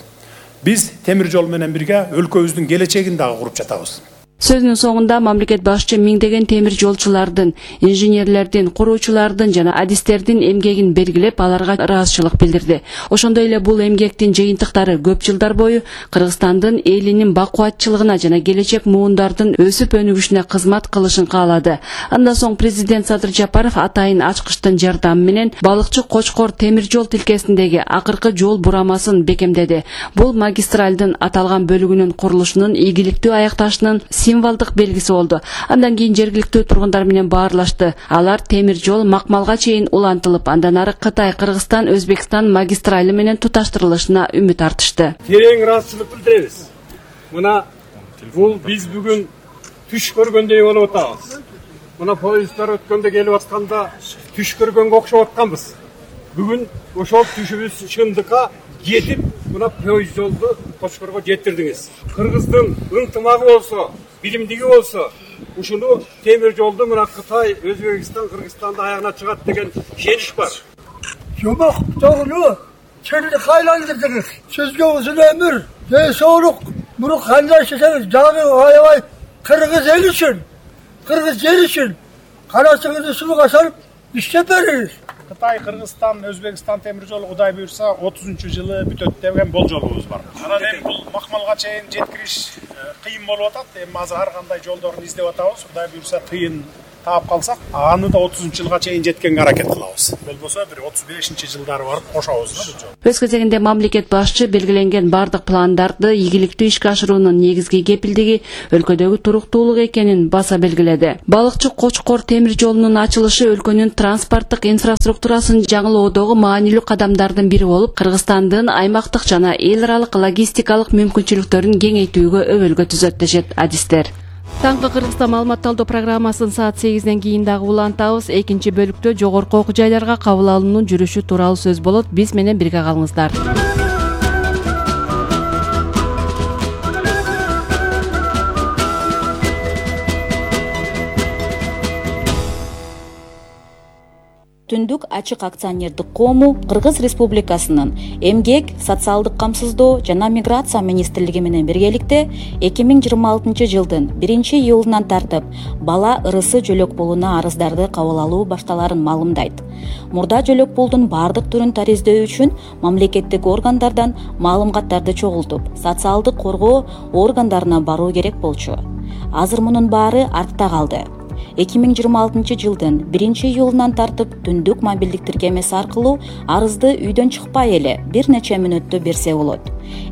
Биз темир жол менен бирге өлкөбүздүн келечегин дагы куруп жатабыз. Сөзүнүн соңунда мамлекет башчы миңдеген темир жолчулардын, инженерлердин, куруучулардын жана адистердин эмгегин белгилеп, аларга ыраазычылык билдирди. Ошондой эле бул эмгектин жыйынтыктары көп жылдар бою Кыргызстандын элинин бакубатчылыгына жана келечек муундардын өсүп өнүгүшүнө кызмат кылышын каалады. Андан соң президент Садыр Жапаров атайын ачкычтын жардамы менен Балыкчы Кочкор темир жол тилкесиндеги акыркы жол бурамасын бекемдеди. Бул магистралдын аталган бөлүгүнүн курулушунун ийгиликтүү аякташынын символдук белгиси болду. Андан кийин жергиликтүү тургундар менен баарлашты. Алар темир жол Макмалга чейин улантылып, андан ары Кытай, Кыргызстан, Өзбекстан магистрали менен туташтырылышына үмүт артышты. Терең ыраазычылык билдиребиз. Мына бул биз бүгүн түш көргөндөй болуп атабыз. Мына поезддар өткөндө келип атканда түш көргөнгө окшоп атканбыз. Бүгүн ошол түшүбүз чындыкка жетип, мына поезд жолду Кочкорго жеткирдиңиз. Кыргыздын ынтымагы болсо, билимдиги болсо, ушуну темир жолду мына Кытай, Өзбекстан, Кыргызстанды аягына чыгат деген ишенич бар. Жомок жолу Çelik aylandırdınız. Sizge uzun ömür, ve soğuk, bunu kaynaşırsanız canı ayavay Kırgız el için, Kırgız yer için karasınızı sulu kasalım işlep veririz. Кытай, Кыргызстан, Өзбекстан темир жолу Кудай буйрса отузунчу жылы бүтөт деген болжолубуз бар. Анан эми бул макмалга чейин жеткириш кыйын болуп атат. Эми азыр ар кандай жолдорун издеп атабыз. Кудай буйрса тыйын таап калсак, аны да отузунчу жылга чейин жеткенге аракет кылабыз. Болбосо бир отуз бешинчи жылдары барып кошобуз да бул жол. Өз кезегинде мамлекет башчы белгиленген бардык пландарды ийгиликтүү ишке ашыруунун негизги кепилдиги өлкөдөгү туруктуулук экенин баса белгиледи. Балыкчы Кочкор темир жолунун ачылышы өлкөнүн транспорттук инфраструктурасын жаңылоодогу маанилүү кадамдардын бири болуп, Кыргызстандын аймактык жана эл аралык логистикалык мүмкүнчүлүктөрүн кеңейтүүгө өбөлгө түзөт дешет адистер. Таңкы Кыргызстан маалымат талдоо программасын саат сегизден кийин дагы улантабыз. Экинчи бөлүктө жогорку окуу жайларга кабыл алуунун жүрүшү тууралуу сөз болот. Биз менен бирге калыңыздар. Түндүк ачык акционердик коому Кыргыз Республикасынын Эмгек, социалдык камсыздоо жана миграция министрлиги менен биргеликте эки миң жыйырма алтынчы жылдын биринчи июлунан тартып бала ырысы жөлөк пулуна арыздарды кабыл алуу башталарын маалымдайт. Мурда жөлөк пулдун бардык түрүн тариздөө үчүн мамлекеттик органдардан маалыматтарды чогултуп, социалдык коргоо органдарына баруу керек болчу. Азыр мунун баары артта калды. эки миң жыйырма алтынчы жылдын биринчи июлунан тартып түндүк мобилдик тиркемеси аркылуу арызды үйдөн чыкпай эле бир нече мүнөттө берсе болот.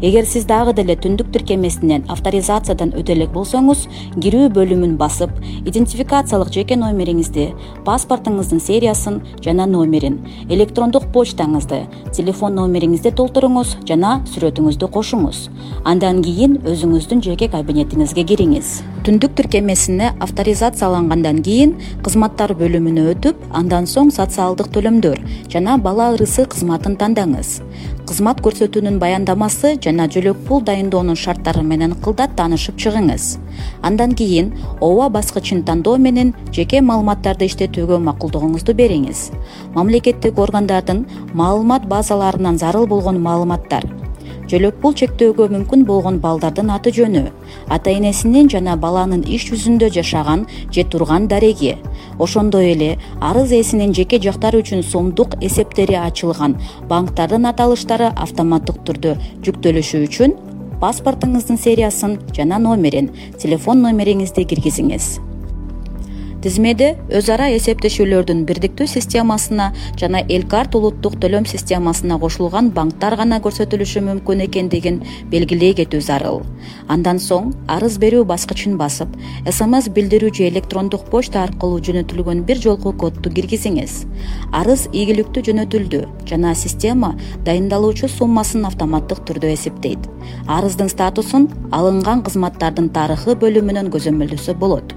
Эгер сиз дагы деле түндүк тиркемесинен авторизациядан өтө элек болсоңуз, кирүү бөлүмүн басып, идентификациялык жеке номериңизди, паспортуңуздун сериясын жана номерин, электрондук почтаңызды, телефон номериңизди толтуруңуз жана сүрөтүңүздү кошуңуз. Андан кийин өзүңүздүн жеке кабинетиңизге кириңиз. Түндүк тиркемесине авторизациялангандан кийин кызматтар бөлүмүнө өтүп, андан соң социалдык төлөмдөр жана бала ырысы кызматын тандаңыз. Кызмат көрсөтүүнүн баяндамасы жана жөлөк пул дайындоонун шарттары менен кылдат таанышып чыгыңыз. Андан кийин ооба баскычын тандоо менен жеке маалыматтарды иштетүүгө макулдугуңузду бериңиз. Мамлекеттик органдардын маалымат базаларынан зарыл болгон маалыматтар, жөлөк пул чектөөгө мүмкүн болгон балдардын аты жөнү, ата энесинин жана баланын иш жүзүндө жашаган же турган дареги, ошондой эле арыз ээсинин жеке жактары үчүн сомдук эсептери ачылган банктардын аталыштары автоматтык түрдө жүктөлүшү үчүн паспортуңуздун сериясын жана номерин, телефон номериңизди киргизиңиз. Тизмеде өз ара эсептешүүлөрдүн бирдиктүү системасына жана Элкарт улуттук төлөм системасына кошулган банктар гана көрсөтүлүшү мүмкүн экендигин белгилей кетүү зарыл. Андан соң арыз берүү баскычын басып, СМС билдирүү же электрондук почта аркылуу жөнөтүлгөн бир жолку кодду киргизиңиз. Арыз ийгиликтүү жөнөтүлдү жана система дайындалуучу суммасын автоматтык түрдө эсептейт. Арыздын статусун алынган кызматтардын тарыхы бөлүмүнөн көзөмөлдөсө болот.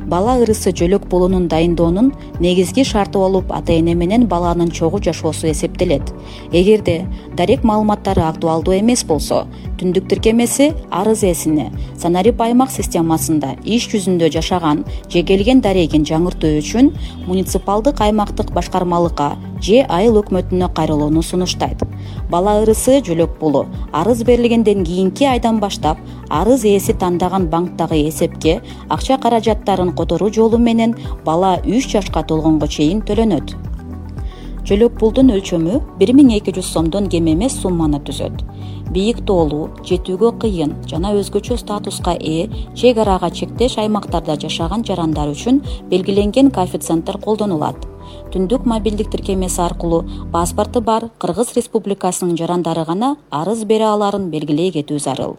Бала ырысы жөлөк пулунун дайындоонун негизги шарты болуп ата эне менен баланын чогуу жашоосу эсептелет. Эгерде дарек маалыматтары актуалдуу эмес болсо, түндүк тиркемеси арыз ээсине Санарип аймак системасында иш жүзүндө жашаган же келген дарегин жаңыртуу үчүн муниципалдык аймактык башкармалыкка же айыл өкмөтүнө кайрылууну сунуштайт. Бала ырысы жөлөк пулу арыз берилгенден кийинки айдан баштап арыз ээси тандаган банктагы эсепке акча каражаттарын которуу жолу менен бала үч жашка толгонго чейин төлөнөт. Жөлөк пулдун өлчөмү бир миң эки жүз сомдон кем эмес сумманы түзөт. Бийик тоолуу, жетүүгө кыйын жана өзгөчө статуска ээ чек арага чектеш аймактарда жашаган жарандар үчүн белгиленген коэффициенттер колдонулат. Түндүк мобилдик тиркемеси аркылуу паспорту бар Кыргыз Республикасынын жарандары гана арыз бере аларын белгилей кетүү зарыл.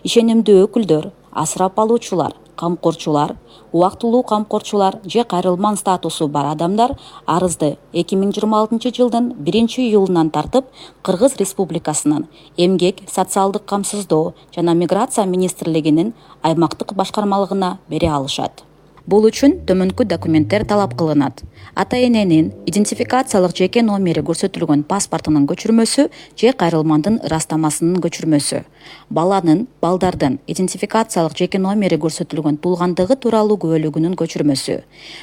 Ишенимдүү өкүлдөр, асырап алуучулар, камкорчулар, убактылуу камкорчулар же кайрылман статусу бар адамдар арызды эки миң жыйырма алтынчы жылдын биринчи июлунан тартып Кыргыз Республикасынын Эмгек, социалдык камсыздоо жана миграция министрлигинин аймактык башкармалыгына бере алышат. Бул үчүн төмөнкү документтер талап кылынат. Ата эненин идентификациялык жеке номери көрсөтүлгөн паспортунун көчүрмөсү же кайрылмандын ырастамасынын көчүрмөсү. Баланын, балдардын идентификациялык жеке номери көрсөтүлгөн туулгандыгы тууралуу күбөлүгүнүн көчүрмөсү.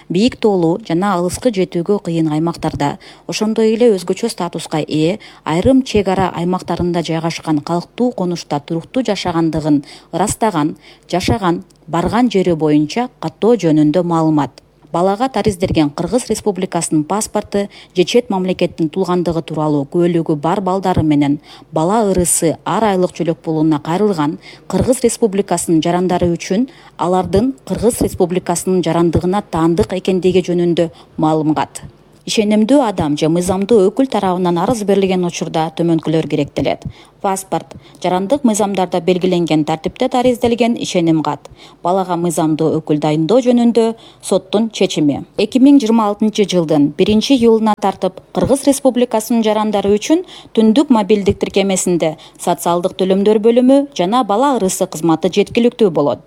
Бийик тоолуу жана алыскы жетүүгө кыйын аймактарда, ошондой эле өзгөчө статуска ээ айрым чек ара аймактарында жайгашкан калктуу конушта туруктуу жашагандыгын ырастаган, жашаган, барган жери боюнча каттоо жөнүндө маалымат. Балага тариздерген Кыргыз Республикасынын паспорту же чет мамлекеттин туулгандыгы тууралуу күбөлүгү бар балдары менен бала ырысы ар айлык жөлөк пулуна кайрылган Кыргыз Республикасынын жарандары үчүн алардын Кыргыз Республикасынын жарандыгына таандык экендиги жөнүндө маалымат. Ишенимдүү адам же мыйзамдуу өкүл тарабынан арыз берилген учурда төмөнкүлөр керектелет. Паспорт, жарандык мыйзамдарда белгиленген тартипте таризделген ишеним кат, балага мыйзамдуу өкүл дайындоо жөнүндө соттун чечими. эки миң жыйырма алтынчы жылдын биринчи июлуна тартып Кыргыз Республикасынын жарандары үчүн түндүк мобилдик тиркемесинде социалдык төлөмдөр бөлүмү жана бала ырысы кызматы жеткиликтүү болот.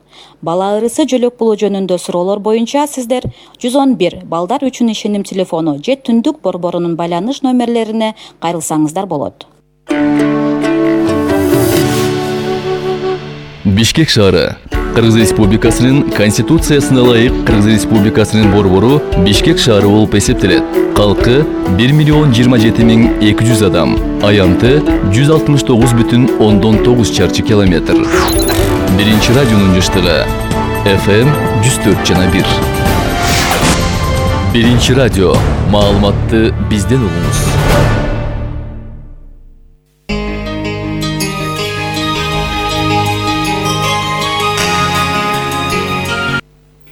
Бала ырысы жөлөк пулу жөнүндө суроолор боюнча сиздер жүз он бир балдар үчүн ишеним телефону же түндүк борборунун байланыш номерлерине кайрылсаңыздар болот. Бишкек шаары. Кыргыз Республикасынын Конституциясына ылайык Кыргыз Республикасынын борбору Бишкек шаары болуп эсептелет. Калкы бир миллион жыйырма жети миң эки жүз адам, аянты жүз алтымыш тогуз бүтүн ондон тогуз чарчы километр. Биринчи радионун жыштыгы эф эм жүз төрт жана бир. Биринчи радио. Маалыматты бизден угуңуз.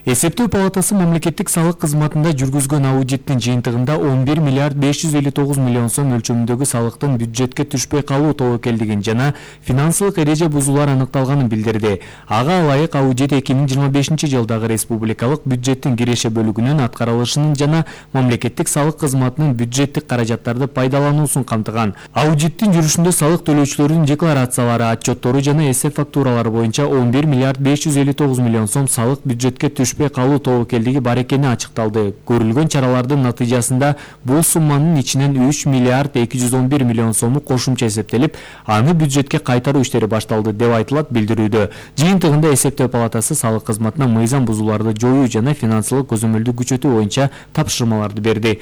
Эсептөө палатасы мамлекеттик салык кызматында жүргүзгөн аудиттин жыйынтыгында он бир миллиард беш жүз элүү тогуз миллион сом өлчөмүндөгү салыктын бюджетке түшпөй калуу тобокелдигин жана финансылык эреже бузуулар аныкталганын билдирди. Ага ылайык аудит эки миң жыйырма бешинчи жылдагы республикалык бюджеттин киреше бөлүгүнүн аткарылышынын жана мамлекеттик салык кызматынын бюджеттик каражаттарды пайдалануусун камтыган. Аудиттин жүрүшүндө салык төлөөчүлөрдүн декларациялары, отчеттору жана эсеп фактуралары боюнча он бир миллиард беш жүз элүү тогуз миллион сом салык бюджетке түшпөй калуу тобокелдиги бар экени ачыкталды. Көрүлгөн чаралардын натыйжасында бул сумманын ичинен үч миллиард эки жүз он бир миллион сому кошумча эсептелип, аны бюджетке кайтаруу иштери башталды деп айтылат билдирүүдө. Жыйынтыгында эсептөө палатасы салык кызматына мыйзам бузууларды жоюу жана финансылык көзөмөлдү күчөтүү боюнча тапшырмаларды берди.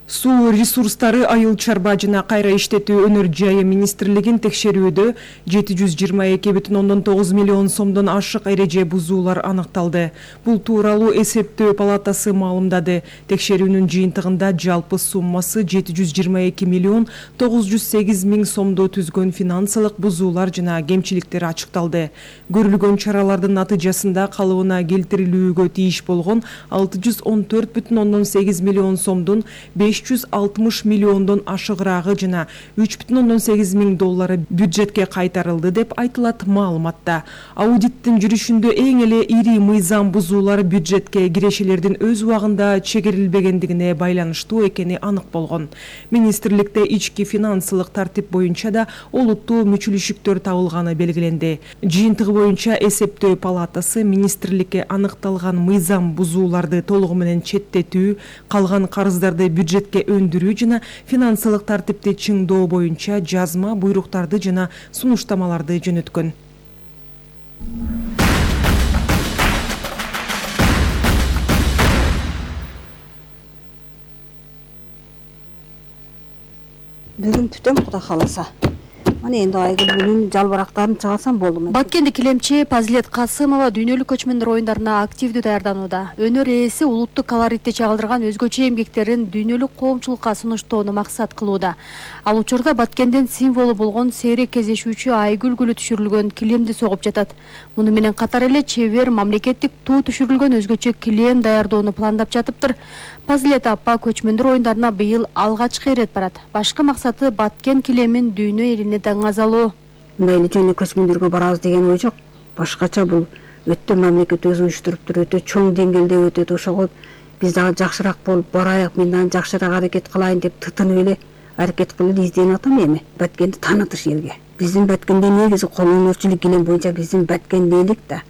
Суу ресурстары, айыл чарба жана кайра иштетүү өнөр жайы министрлигин текшерүүдө жети жүз жыйырма эки бүтүн ондон тогуз миллион сомдон ашык эреже бузуулар аныкталды. Бул тууралуу эсептөө палатасы маалымдады. Текшерүүнүн жыйынтыгында жалпы суммасы жети жүз жыйырма эки миллион тогуз жүз сегиз миң сомду түзгөн финансылык бузуулар жана кемчиликтер ачыкталды. Көрүлгөн чаралардын натыйжасында калыбына келтирилүүгө тийиш болгон алты жүз он төрт бүтүн ондон сегиз миллион сомдун беш жүз алтымыш миллиондон ашыгыраагы жана үч бүтүн ондон сегиз миң доллары бюджетке кайтарылды деп айтылат маалыматта. Аудиттин жүрүшүндө эң эле ири мыйзам бузуулар бюджетке кирешелердин өз убагында чегерилбегендигине байланыштуу экени анык болгон. Министрликте ички финансылык тартип боюнча да олуттуу мүчүлүшүктөр табылганы белгиленди. Жыйынтыгы боюнча эсептөө палатасы министрликке аныкталган мыйзам бузууларды толугу менен четтетүү, калган карыздарды бюджетке өндүрүү жана финансылык тартипти чыңдоо боюнча жазма буйруктарды жана сунуштамаларды жөнөткөн. Бүгүн түтөм Кудай кааласа. Мына энди айгүл күнүн жалбырактарын чыгарсам болду. Баткенди килемчи Пазилет Касымова дүйнөлүк көчмөндөр оюндарына активдүү даярданууда. Өнөр ээси улуттук колоритти чагылдырган өзгөчө эмгектерин дүйнөлүк коомчулукка сунуштоону максат кылууда. Ал учурда Баткендин символу болгон сейрек кездешүүчү айгүл гүлү түшүрүлгөн килемди согуп жатат. Муну менен катар эле чебер мамлекеттик туу түшүрүлгөн өзгөчө килем даярдоону пландап жатыптыр. Пазилет апа көчмөндөр оюндарына быйыл алгачкы ирет барат. Башкы максаты Баткен килемин дүйнө элине даңазалоо. Мындай эле жөн көчмөндөргө барабыз деген ой жок. Башкача бул өтө мамлекет өзү уюштуруптур, өтө чоң деңгээлде өтөт. Ошого биз дагы жакшыраак болуп барайык, мен дагы жакшыраак аракет кылайын деп тытынып эле аракет кылып эле изденип атам эми. Баткенди таанытыш элге. Биздин Баткенде негизи кол өнөрчүлүк килем боюнча биздин Баткен элек да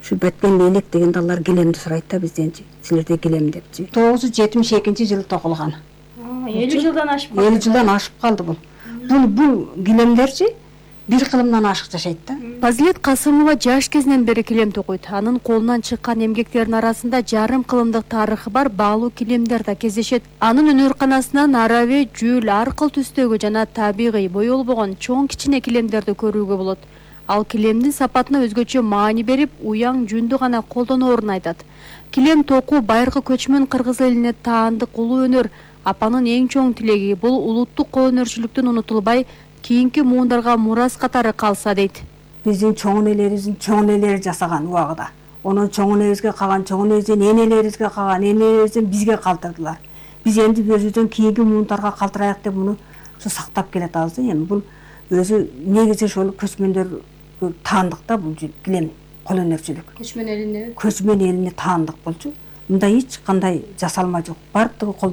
ушу беткен лейлек дегенде алар килемди сурайт да бизденчи. Силерде килем депчи. тогуз жүз жетимиш экинчи жылы токулган. элүү жылдан ашып калды. элүү жылдан ашып калды бул. Бул бул килемдерчи бир кылымдан ашык жашайт да. Пазилет Касымова жаш кезинен бери килем токуйт. Анын колунан чыккан эмгектердин арасында жарым кылымдык тарыхы бар баалуу килемдер да кездешет. Анын өнөрканасынан араби, жүл, аркыл түстөгү жана табигый боелбогон чоң кичине килемдерди көрүүгө болот. Ал килемдин сапатына өзгөчө маани берип, уяң жүндү гана колдоноорун айтат. Килем токуу байыркы көчмөн кыргыз элине таандык улуу өнөр. Апанын эң чоң тилеги бул улуттук кол өнөрчүлүктүн унутулбай, кийинки муундарга мурас катары калса дейт. Биздин чоң энелерибиздин чоң энелери жасаган убагыда. Онун чоң энебизге калган, чоң энебиздин энелерибизге калган, энелерибизден бизге калтырдылар. Биз энди өзүбүздөн кийинки муундарга калтырайык деп муну сактап келатабыз да. Эми бул өзү негизи ошол көчмөндөр таандык да бул килем кол өнөрчүлүк. Көчмөн элине көчмөн элине таандык болчу. Мындай эч кандай жасалма жок. Бардыгы